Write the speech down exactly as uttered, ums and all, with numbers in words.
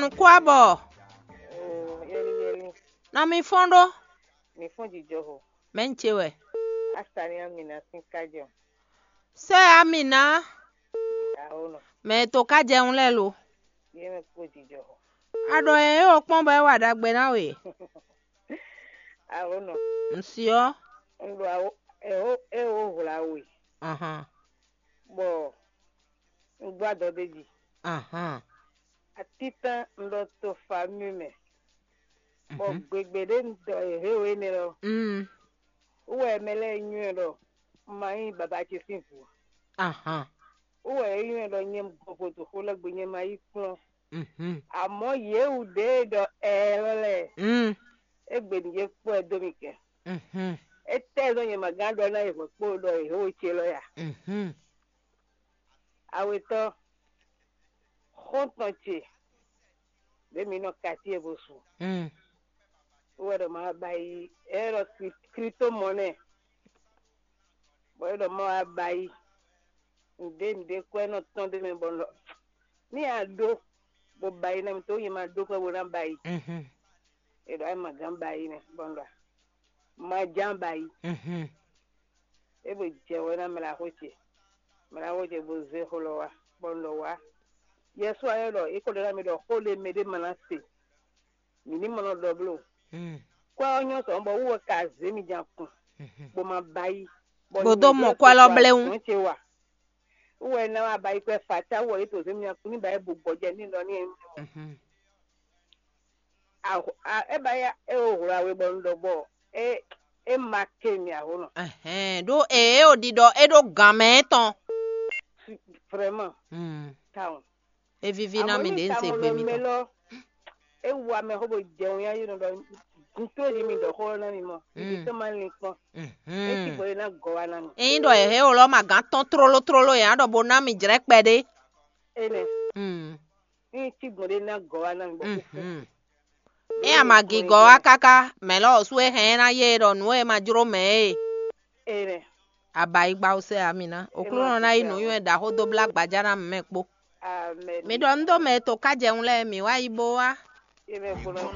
Nukú abɔ. Oo, yɛli yɛli. Nɔ mi fɔ́n ɖó. Mi fún jijɔ ho. Mɛ ń ce wɛ. Asani Amina sín kájɔ. Sɛ Amina. Awo nɔ. Mɛ e to kájɛ ń lɛ lo. Yé mɛ kpó jijɔ ho. A ɖɔ ɛ é o kpɔ́n bɔ é wa ɖagbe ná we. Awo nɔ. Ŋ si ɔ́. N ɖo awo ɛ o ɛ o hwla we. Ahan. Bɔ n gbɔ adɔ ɖ'é jí. Ahan. Atítán un ɖɔ to famille mɛ, bɔ gbegbe ɖé un ɖɔ yěhéwé énɛ́ lɔ, Mm. wú wɛ mɛ lɛ́ɛ nywɛ́ ɖɔ un ma nyí baba ce sín vǐ. Ahan. Wú wɛ é nywɛ́ ɖɔ nyɛ gbɔn vodúnxó lɛ́ɛ gbe nyɛ ma yí kplɔ́n. Mhm. Amɔ̌ yě wú ɖě e ɖɔ ɛɛ lɔ lɛ́ɛ, Mm. é gbe nǔ yě kpɔ́ ɛ dó mi kɛ. Mhm. Étɛ́ zɔ́n nyɛ ma gán ɖɔ ná yi hwɛ̌ kpó ɖɔ yěhéwé ce lɔ ya? Mhm. Awetɔ́, xɔ́ntɔn ce, ɖě mi nɔ katíe bo su. Mm. Wú wɛ ɖɔ ma wá ba yi, é ɖɔ Kri- Kritomɔnɛ, bɔ é ɖɔ ma wá ba yi. Nǔɖé nǔɖé kwɛ́ nɔ tɔn ɖé mɛ bɔ un ɖɔ ní a ɖó, bó ba yi ná mi tó nyɛ ma ɖó kwɛ́ bó ná ba yi. Mhm. É ɖɔ é ma gán ba yi nɛ bɔ un ɖɔ ma ján ba yi. Mhm. É bo jɛ wɛ ná mla xó ce, mla xó ce bo zé xó lɔ wá, bɔ un ɖɔ wá. Yɛsu ayɔ ɖɔ é ko ɖɔ ná mi ɖɔ xó ɖé mɛ ɖé ma ná se, mǐ ní mɔ nɔ ɖɔ bló. Mm. Kwɛ́ ɔ́ nyɔ́ sɔ̌ bɔ wú wɛ ka zě mi jan kun, Mhm. bó ma ba yi. Bó dó mɔ kwɛ́ lɔ bléwún. Nǔ ce wa. Wú wɛ ná wá ba yi kwɛ́ fa tá wú wɛ yě to zě mi jan kun ní ba yi bu gbɔjɛ ní ɖɔ ní. Mhm. A- a- é ba ya é o hwlá we bɔ un ɖɔ bɔ é é ma ké mi aho nɔ. Ɛhɛn, ɖó ee o ɖiɖɔ é ɖó gǎn mɛ tɔn. Vraiment. Mm. Tawun. É víví ná mi ɖě un se gbe mi mɛ tɔn. Lɔ, é wu amɛ xó bo jɛ wun yá yé nɔ ɖɔ ntó di mi ɖɔ xó ná mi mɔ. Mm. Ibi tó ma lin kpɔn. É ti Mhm. gbɔ é ná gɔ wa ná mi. Eyin ɖɔ yɛhɛ o lɔ ma gán tɔn tlóló tlóló yɛn á ɖɔ bo ná mi jlɛ́ kpɛɖé. Énɛ́. Mm. Ní tí gbɔn ɖé ná gɔ wa ná mi bɔ kúkú. Mhm. É a ma gigɔ wá káká, mɛ̌ lɔ ɔ́ sú é hɛn ná yé ɖɔ nǔ e ma jló mɛ é. Énɛ́. Abayigba wú sɛ ami ná. Oklúnɔ ná yi nǔnywɛ́ ɖaxó dó blá gbajá ná mɛ kpó. Amen. Mi ɖɔ nú dó mɛ e to kájɛwun lɛ́ɛ mǐ wá yi bó wá. Énɛ́ kplɔ́n.